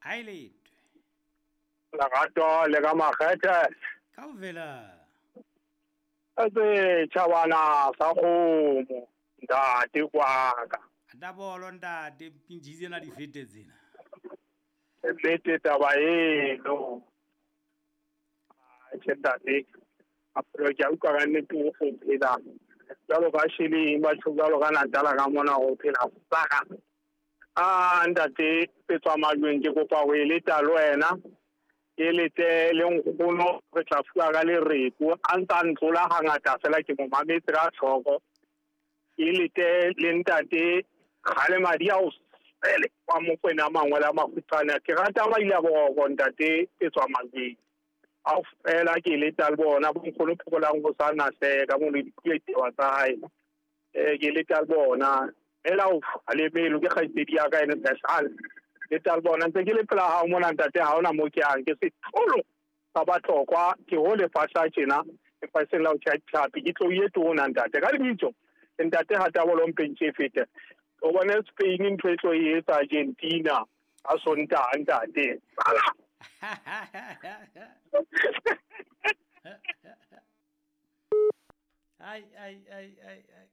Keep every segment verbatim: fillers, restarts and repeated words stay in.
Aeletwe. Lerato le ka makgethe. Kaofela. Etse tjhabana sa kgomo ntate kwaka. Atabolo ntate pinjize na difete tsena. Ebete taba eno. Tjhe ntate. Apro ke utlwa ka nnete o go phela. Jwalo ka shileng batho jwalo ka Natala ka mona go phela saka. Ah ntate petswa majweng ke kopa ho eleta le wena. Ke lete le nkgono re tla fuwa ka lereko a ntsa ntlola hangata fela ke mo mametse ka tlhoko. Ke lete le ntate kgale madi a o sele wa Mokwena mangwe la makgutshwane ke rata ba ile boroko ntate petswa majweng. A fela ke leta le bona bo nkgono phokolang go sa na hleka mo le dikuletewa tsa hae. Eh ke leta le bona ela o le melo ke kgaitsedi ya ka ene special. Le tla bona ntse ke le pela ha mona ntate ha ona mo ke yang ke setholo sa batlokwa ke ho le fahla tjena lefatsheng la ho tjha tlhapi ke tlo ye tona ntate ka lebitso ntate ha tabolo mpentse fete o bone Spain ntho e tlo e etsa Argentina a sonta ntate. Ai ai ai ai ai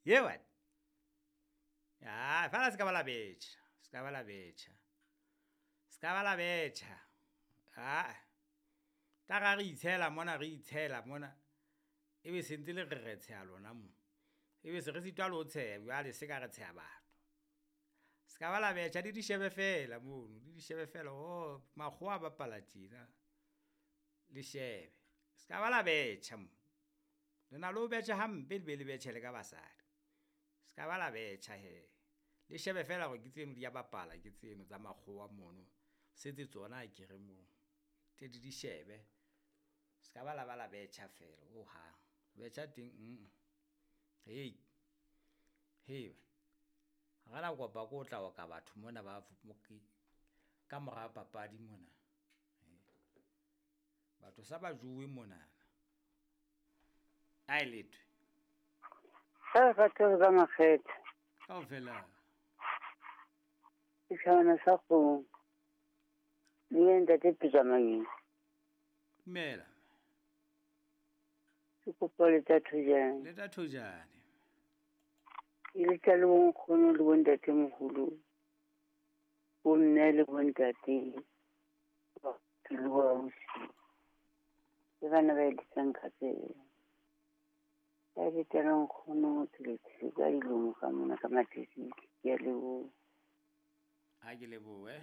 ye what ya fela se ka bala betjha. Ska ba la betjha. Ska ba la betjha. Ah. Ta ga re itshela mona re itshela mona. E be sentse le re re tsheha lona mo. E be se re sitwa le ho tsheha jwale se ka re tsheha batho. Ska ba la betjha di di shebe fela mono, di di shebe fela oh makgowa ba bapala tjena. Le shebe. Ska ba la betjha mo. Le na lo betjha hampe le be le betjhe le ka basadi. Ska ba la betjha he. Le shebe fela gore ke tseno di a bapala ke tseno tsa makgowa mono setse tsona ke re mo te di di shebe ska ba la ba la betjha fela o ha betjha teng mm hey hey ga la kopa ko tla wa ka batho mona ba ka mora papadi mona batho sa ba jowe mona aeletwe sa ka tsa makgethe kaofela. Ke sa go le ntate Pitsamang. Dumela. Ke kopa le tsa thojane. Le tsa thojane. E le tsa le bonkgono le bontate moholo. Bo mme le bontate. Ke le bo ausi. Le bana ba eletsang ka tsela. Ka le tsa le nkgono le ka dilomo ka mona ka mathisi ke a leboha. Ha ke lebohe.